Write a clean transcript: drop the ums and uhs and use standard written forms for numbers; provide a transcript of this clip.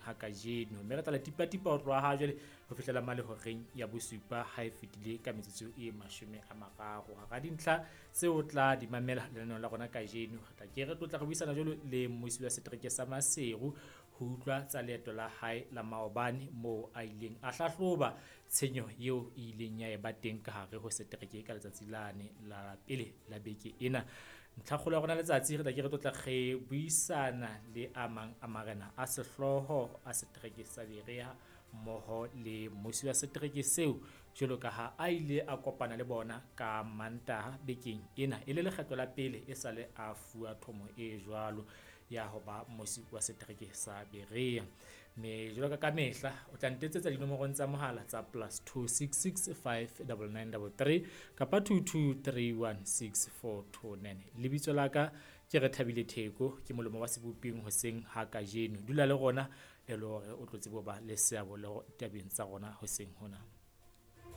ha kajeno. Mme re tla le tipatipa ho tloha ha jwale ho fihlela mane horeng ya bosupa ha e fetile ka metsotso e 30. Hara dintlha tseo o tla di mamela lenaneong la rona kajeno, re tla ke re tlotla re buisana jwalo le mmusi wa setereke sa Maseru ho utlwa tsa leeto la hae la maobane moo a ileng a hlahloba tshenyo eo e ileng ya eba teng ka hare ho setereke ka letsatsi lane la pele la beke ena. Ntlhakgolo ya rona letsatsi re tla ke re tlotla re buisana le a mang a marena a sehlooho a setereke sa Berea mmoho le mmusi wa setereke seo jwalo ka ha a ile a kopana le bona ka Mantaha bekeng ena e le lekgetlo la pele e sale a fuwa thomo e jwalo ya ho ba mmusi wa setereke sa Berea. Mme jwalo ka kamehla o tla ntetsetsa dinomorong tsa mohala tsa +266 59933 kapa 22316429. Lebitso la ka ke Rethabile Theko, ke molomo wa seboping hoseng ha kajeno. Dula le rona e le hore o tlo tsebe ho ba le seabo le tabeng tsa rona hoseng hona.